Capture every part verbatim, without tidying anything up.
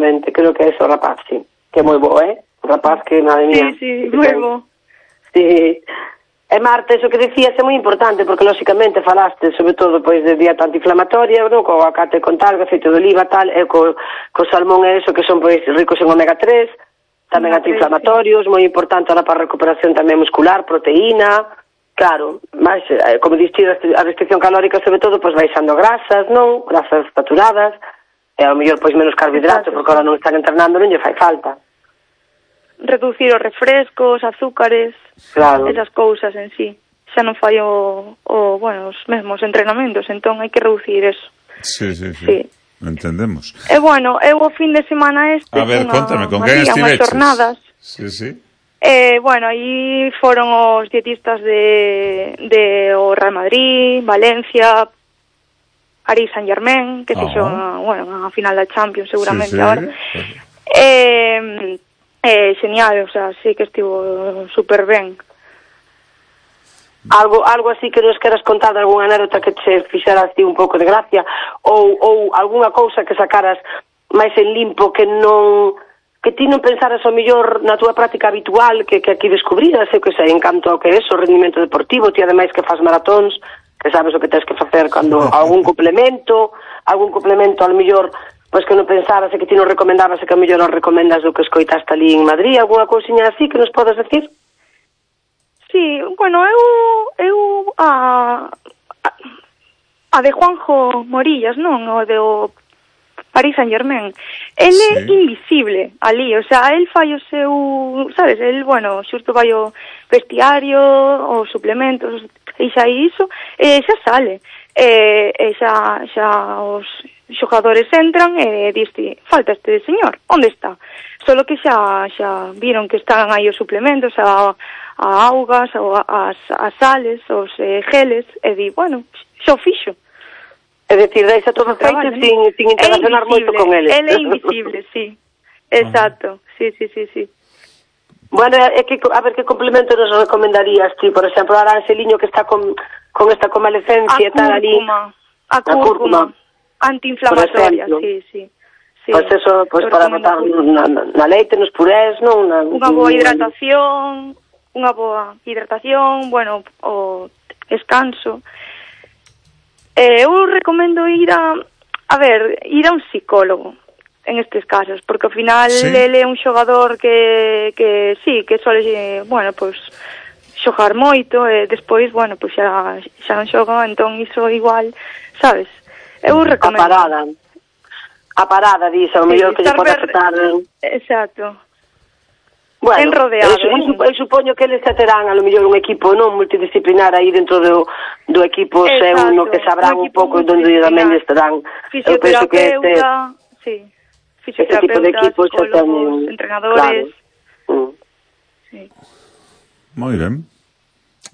exactamente, creo que é ese o rapaz, sí, que é moi bo, eh? O rapaz que, madre mía. Sí, sí, moi bo. Sí. E Marta, eso que decías é moi importante, porque lóxicamente falaste, sobre todo, pois, de dieta antiinflamatoria, non? Co aguacate con tal, aceite de oliva, tal, e co, co salmón e eso, que son, pois, ricos en omega tres, tamén antiinflamatorios, moi importante ahora para a recuperación tamén muscular, proteína, claro, máis, como diste, a restricción calórica, sobre todo, pois, baixando grasas, non? Grasas saturadas, e ao mellor, pois, menos carbohidratos, porque ahora non están entrenando, non lle fai falta. Reducir os refrescos, azúcares, claro, esas cousas en sí. Xa non fai o, o, bueno, os mesmos entrenamentos, entón hai que reducir eso. Sí, sí, sí, sí. Entendemos. E bueno, eu o fin de semana este, a ver, unha, contame, con quen estiveches? Jornadas. Sí, sí. Eh, bueno, aí foron os dietistas de, de o Real Madrid, Valencia, Paris Saint-Germain, que fixo, oh. bueno, a final da Champions seguramente sí, sí. Ahora. Eh, eh, genial, o sea, sí que estivo super ben. Algo algo así que nos queras contar de algunha anécdota que che fixera así un pouco de gracia, ou, ou algunha cousa que sacaras máis en limpo que non, que ti non pensaras ao mellor na túa práctica habitual, que, que aquí descubriras, eu que sei, en canto ao que é o rendimento deportivo, ti ademais que faz maratóns, que sabes o que tens que facer cando algún complemento, algún complemento ao mellor, pois que non pensaras e que ti non recomendabas e que ao mellor non recomendas do que escoitaste ali en Madrid, algunha cousiña así que nos podes decir? Sí, bueno, eu eu a a de Juanjo Morillas, non, o de o Paris Saint-Germain. El sí. é invisible ali, o sea, el fai o seu, sabes, el, bueno, xusto vai o vestiario, os suplementos, e xa iso, e xa sale. E, e xa, xa os xogadores entran e diste, falta este señor, onde está? Solo que xa xa viron que están aí os suplementos, a, a augas, a, as, as sales, os eh, geles, e di, bueno, xa o fixo. É dicir, deixa todo feito sin, sin interaccionar moito con eles. Ele é invisible, sí. Exacto, sí, sí, sí, sí. Bueno, é que, a ver, que complemento nos recomendarías ti? Por exemplo, a Aranceliño que está con, con esta convalecencia e tal ali. A cúrcuma. Antiinflamatoria, sí, sí. sí. Pois pues eso, pois pues para botar na, na leite, nos purés, non? Na, unha boa hidratación, unha boa hidratación, bueno, o descanso. Eh, eu recomendo ir a, a ver, ir a un psicólogo en estes casos, porque ao final sí. Ele é un xogador que, que sí, que sole, bueno, pois, xogar moito, e despois, bueno, pois xa, xa non xoga, entón iso igual, sabes? Eu recomendo. A parada. A parada, diz, ao mellor sí, que lle pode afectar. Exacto. Bueno, en rodeado. Eu, eu, eu supoño que eles terán a lo mellor un equipo non multidisciplinar aí dentro do, do equipo seu, no que sabrán un, un pouco onde tamén estarán. Eu penso que este, sí. este tipo de equipos psicólogos, entrenadores. Claro. Mm. Sí. Moi ben.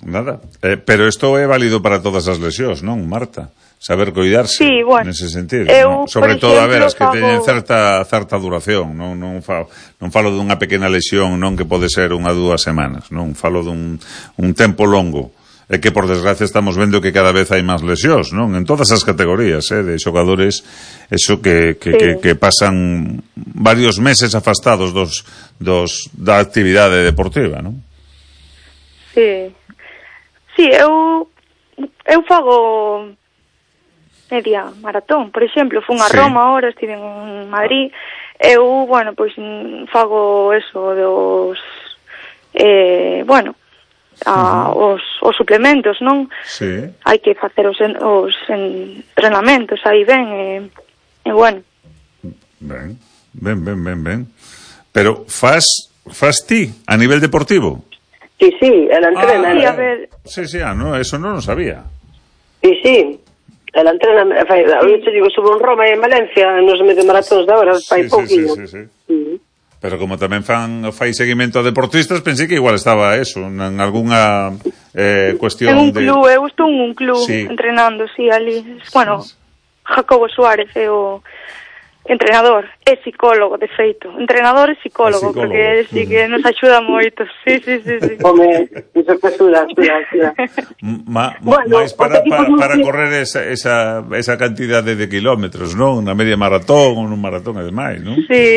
Nada. Eh, pero isto é válido para todas as lesións, non, Marta? Saber cuidarse, sí, bueno, nese sentido, eu, ¿no? Sobre todo, exemplo, a ver, as que fago... teñen certa certa duración, non non falo, non falo dunha pequena lesión, non que pode ser unha dúas semanas, non falo dun un tempo longo, e que por desgracia estamos vendo que cada vez hai máis lesións, non? En todas as categorías, eh, de xogadores, eso que que, sí. que que pasan varios meses afastados dos dos da actividade deportiva, non? Sí. Sí, eu eu fago media maratón, por exemplo, fun a sí. Roma ahora, estive en Madrid, eu, bueno, pois fago eso dos eh, bueno, a, uh-huh. os, os suplementos, non? Sí. Hai que facer os, os entrenamentos aí ben, e, e bueno. Ben, ben, ben, ben, ben. Pero faz, faz ti a nivel deportivo? Sí, sí, ela entrena. Ah, sí, a ver. Sí, sí, ah, no, eso non lo sabía. Sí, sí. Ela entrena, fai, eu te digo, subo en Roma e en Valencia, nos medio maratóns de ahora, fai sí, pouquinho. Sí, sí, sí, sí. Uh-huh. Pero como tamén fan fai seguimento a deportistas, pensei que igual estaba eso, en algunha eh, cuestión de... En un club, de... eu estou en un club sí. entrenando, sí, ali. Bueno, sí. Jacobo Suárez é o entrenador, é psicólogo, de feito. Entrenador e psicólogo, psicólogo. Porque sí que nos axuda moito. Sí, sí, sí, sí. Home, iso que axuda, axuda, axuda. Ma, bueno, máis para, para, para correr esa, esa, esa cantidade de kilómetros, non? Na media maratón ou nun maratón e demais, non? Sí.